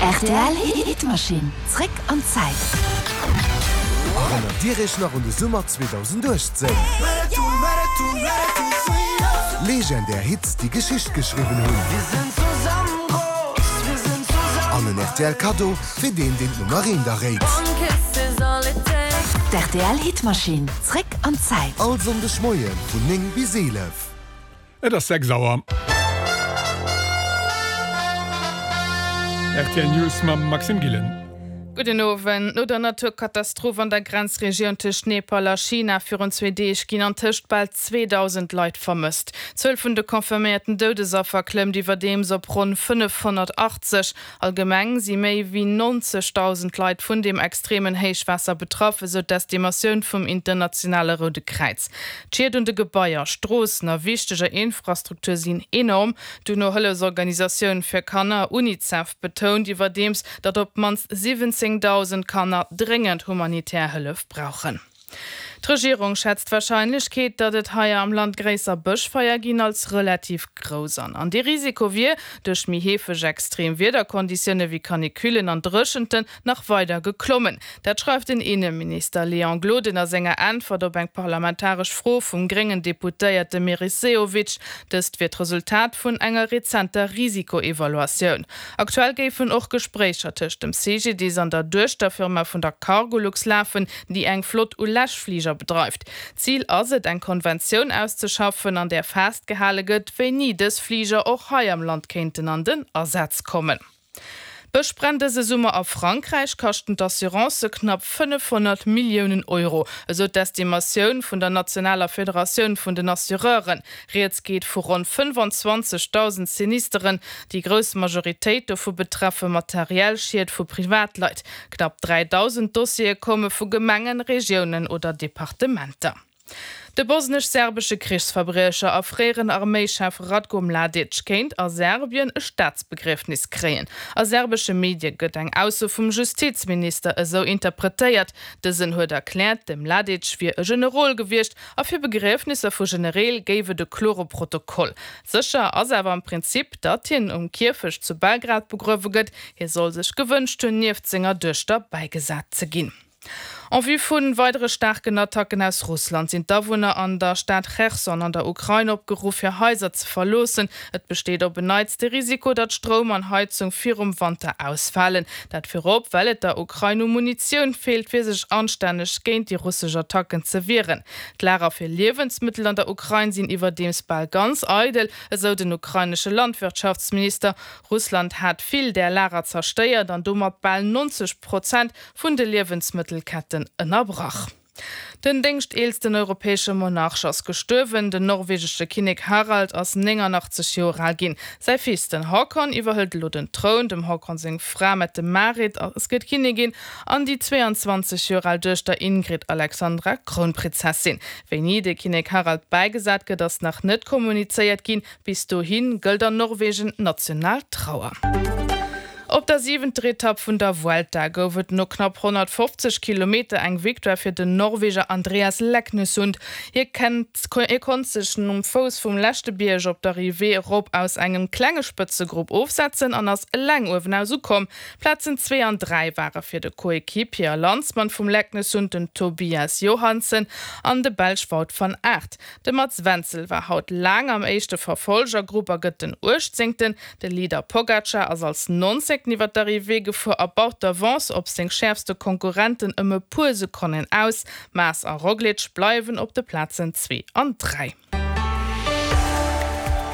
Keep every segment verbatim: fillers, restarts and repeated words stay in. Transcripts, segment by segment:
Rtl Hitmaschinn, zréck an d'Zäit. Erënnert Dir Iech nach un de Summer zweedausenduechtzéng? Legendär Hits, déi Geschicht geschriwwen hunn. An en rtl Kaddo fir deen, deen d'Nummer eent erréit. D'rtl Hitmaschinn, zréck an d'Zäit. All Sonndeg Moie vun néng bis eelef. Et ass sechs Auer. Rtl News mam Maxime Gillen. Gudden Owend. No der Naturkatastroph an der Grenzregioun tëscht Nepal a China virun zwee Deeg ginn antëscht bal zweedausend Leit vermësst. D'Zuel vun de confirméierten Doudesaffer klëmmt iwwerdeems op ronn fënnefhonnertachtzeg. Allgemeng si méi wéi nonzegdausend Leit vun deem extremen Héichwaasser betraff, esou d'Estimatioun vum internationale Roude Kräiz. D'Schied un de Gebaier, Stroossen a wichteger Infrastruktur sinn enorm. D'UNO-Hëllefsorganisatioun fir Kanner, UNICEF, betount iwwerdeems, datt op d'mannst siwwenzéngdausend Kanner dréngend humanitär Hëllef brauchen. D'Regierung schätzt d'Warscheinlechkeet, datt et hei am Land gréisser Bëschfeier ginn, als relativ grouss an. An dee Risiko wier duerch méi heefeg extrem Wiederkonditioune wéi Canicullen an Dréchenten nach weider geklommen. Dat schreift den Inneminister Léon Gloden a senger Äntwert op eng parlamentaresch Fro vum gréngen Deputéierte Meris Sehovic. Dëst wier d'Resultat vun enger rezenter Risikoevaluatioun. Aktuell géifen och Gespréicher tëscht dem C G D I S an der Duechterfirma vun der Cargolux lafen, déi eng Flott u Läschfliger bedreift. Zil ass et, eng Konventioun auszeschaffen, an där festgehale gëtt, wéini dës Fliger och hei am Land kéinten an den Asaz kommen. D'Bëschbränn dëse Summer a Frankräich kaschten d'Assurancë knapp fënnefhonnert Milliounen Euro, esou d'Estimatioun vun der nationaler Federatioun vun den Assureuren. Rieds geet vu ronn fënnefanzwanzegdausend Sinisteren. Déi grouss Majoritéit dovu betreffe materiell Schied vu Privatleit. Knapp dräidausend Dossiere komme vu Gemengen, Regiounen oder Departementer. De bosnesch-serbesche Krichsverbriecher a fréieren Arméischef Ratko Mladic kéint a Serbien e Staatsbegriefnis kréien. A serbesche Medie gëtt eng Ausso vum Justizminister esou interpretéiert. Dësen huet erkläert, de Mladic wier e Generol gewiescht a fir Begriefnisser vu Genereel géif et e klore Protokoll. Sécher ass awer am Prinzip, datt hien um Kierfecht zu Belgrad begruewe gëtt. Hie soll sech gewënscht hunn, nieft senger Duechter bäigesat ze ginn. En vue vu weidere staarken Attacken aus Russland sinn d'Awunner an der Stad Cherson an der Ukrain opgeruff, hir Haiser ze verloossen. Et besteet op en Neits de Risiko, datt Stroum an Heizung virum Wanter ausfalen. Dat virop, well et der Ukrain u Munitioun feelt, fir sech anstänneg géint déi russesch Attacken ze wieren. D'Lager fir Liewensmëttel an der Ukrain sinn iwwerdeems bal ganz eidel, esou den ukrainesche Landwirtschaftsminister. Russland hat vill där Lager zerstéiert an domat bal neunzeg Prozent vun de Liewensmëttelketten ënnerbrach. Den déngschteelsten europäesche Monarch ass gestuerwen, den norwegesche Kinnek Harald ass néngannachtzeg Joer al ginn. Säi Fils, den Haakon, iwwerhëlt elo den Troun. Dem Haakon seng Fra Mette-Marit ass gëtt Kinnigin an déi zweeanzwanzeg Joer al Duechter Ingrid Alexandra Krounprinzessin. Wéini de Kinnek Harald bäigesat gëtt, ass nach net kommunizéiert ginn. Bis dohi gëllt an Norwegen national Trauer. Op der siwenter Etapp vun der Vuelta gouf et no knapp honnertfofzeg Kilometer eng Victoire fir den Norweger Andreas Leknessund. Hie kennt, hie konnt sech nom Fouss vum leschte Bierg op d'Arrivée erop aus engem klenge Spëtzegrupp ofsetzen an ass eleng uewenaus ukomm. Plazen zwee an dräi ware fir de Coequipier a Landsmann vum Leknessund, den Tobias Johansen, an de Belsch Wout van Aert. De Mats Wenzel war haut laang am éischte Verfolgergrupp a gëtt den Uechtzéngten. De Leader Pogacar ass als Nonzéngten iwwer d'Arrivée gefuer a baut d'Avance op seng schäerfste Konkurrenten ëm e puer Sekonnen aus. Mas a Roglic bleiwen op de Plazen zwee an dräi.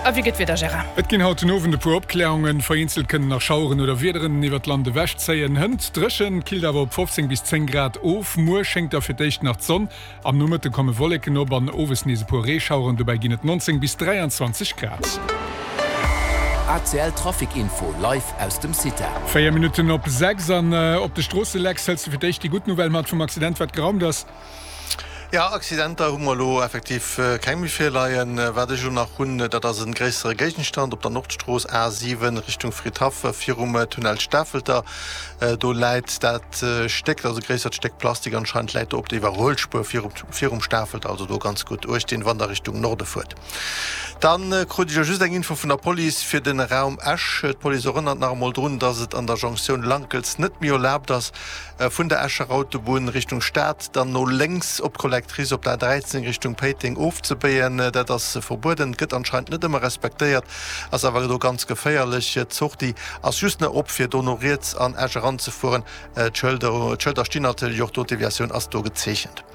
A wéi gëtt d'Wieder, Gérard? Et ginn haut den Owend e puer Opkläerungen, vereenzelt kënnen nach Schaueren oder Wiederen iwwer d'Land ewechzéien. Hënt dréchen, killt awer op fofzéng bis zéng Grad of. Muer schéngt da fir d'éischt nach d'Sonn, am Nomëtte komme Wolleken op an owes nees e puer Reeschaueren, dobäi ginn et neunzéng bis dräianzwanzeg Grad. A C L Trafic Info live aus dem CITA. Véier Minutten op sechs an op de Stroosse, Lex, hëls de fir d'éischt déi gutt Nouvelle mat vum Accident, wat geraumt ass? Jo, Accidenter hu mer elo effektiv keng méi virleien. Wat ech elo nach hunn, dat ass e gréissere Géigenstand op der Nordstrooss A siwen Richtung Fridhaff virum Tunnel Stafelter. Do läit dat Stéck, dat ass e gréissert Stéck Plastik anscheinend, läit do op der Iwwerhuelspuer virum Stafelter. Also do ganz gutt Uecht dinn, wann der Richtung Norde fuert. Dann krut ech elo just eng Info vun der Police fir den Raum Esch. D'Police erënnert nach emol drun, dass et an der Jonktioun Lankels net méi erlaabt ass, vun der Escher Autobunn Richtung Stad dann no lénks op d'Collectrice op der A dräizéng Richtung Péiteng ofzebéien. Dat ass verbueden, gëtt anscheinend net ëmmer respektéiert, ass awer do ganz geféierlech. D'Sortie ass just nach op fir do no riets an Esch eranzefueren. D'Schëlder stinn natierlech och do, d'Deviatioun ass do gezeechent.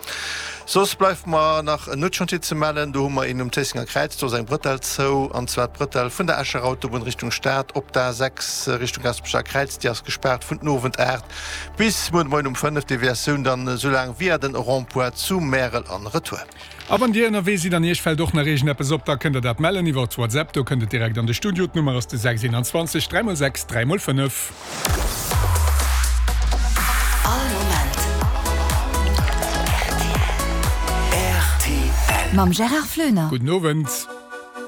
Soss bleift mer nach en Nuetschantier ze mellen. Do hu mer een um Zéissenger Kräiz, do ass eng Brëtell zou, an zwar d'Brëtell vun der Escher Autobunn Richtung Stad op d'A sechs Richtung Gasperecher Kräiz. Déi ass gespaart vun den Owend aacht bis muer de Moien um fënnef. Deviatioun dann esou laang via den Rond-point zu Märel an retour. A wann Dir ënnerwee sidd an Iech fält och nach iergendeppes op, da kënnt Der dat mellen iwwer WhatsApp. Do kënnt et direkt an de Studio. D'Nummer ass de sechs eenanzwanzeg dräi mol sechs dräi mol fënnef. All Moment rtl. Mam Gérard Floener. Gudden Owend.